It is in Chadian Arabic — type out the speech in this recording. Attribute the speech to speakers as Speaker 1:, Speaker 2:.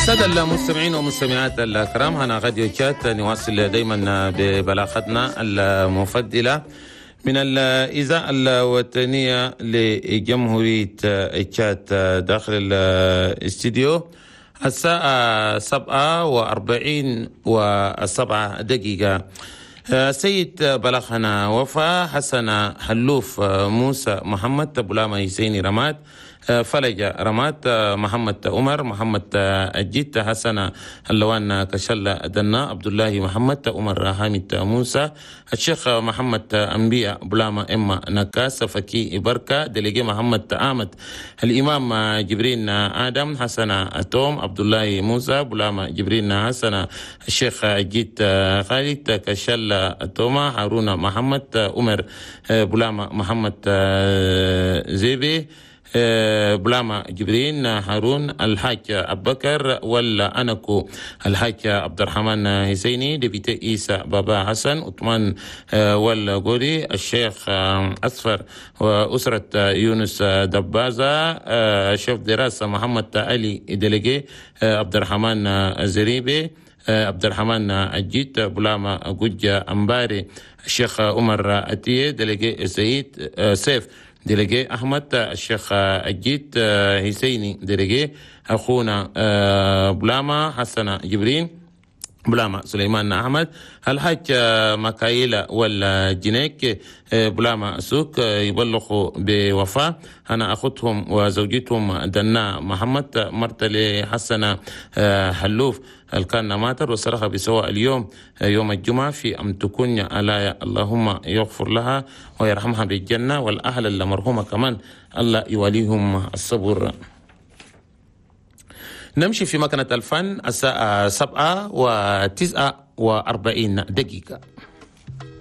Speaker 1: السادة المستمعين والمستمعات الكرام، هنا راديو تشاد، نواصل دايما ببلاغتنا المفضلة من الإذاعة الوطنية لجمهورية تشاد. داخل الاستديو الساعة 47:07. سيد بلغنا وفا حسن حلوف موسى محمد بلاما حسيني رماد فلج رماد محمد عمر محمد الجيت حسن اللوان كشل دنا عبد الله محمد عمر حامد موسى الشيخ محمد أنبياء بلاما إما نكاس فكي بركة délégué محمد أحمد الإمام جبرين آدم حسن توم عبد الله موسى بلاما جبرين حسن الشيخ الجيت خالد كشل توما هارون محمد عمر بلاما محمد زيبي بلاما جبرين هارون الحاج أبكر ولا أنكو الحاج عبد الرحمن حسيني député إيسى بابا حسن عثمان والغوري الشيخ أصفر وأسرة يونس دبازة شيف دراسة محمد علي délégué عبد الرحمن زريبي عبد الرحمن الجيت بلاما جوجا أمباري الشيخ عمر أتيه délégué سيد سيف délégué أحمد الشيخ الجيت حسيني délégué أخونا بلاما حسن جبرين بلاما سليمان أحمد الحاج مكايلة والجنيك بلاما سوق يبلغوا بوفاة أنا أخوتهم وزوجتهم دنا محمد مرتلي حسن حلوف الكان ماتر وصرخ بسواء اليوم يوم الجمعة في أم تكون على اللهم يغفر لها ويرحمها بالجنة، والأهل المرحومة كمان الله يوليهم الصبر. نمشي في مكنة الفن، الساعة 7:49.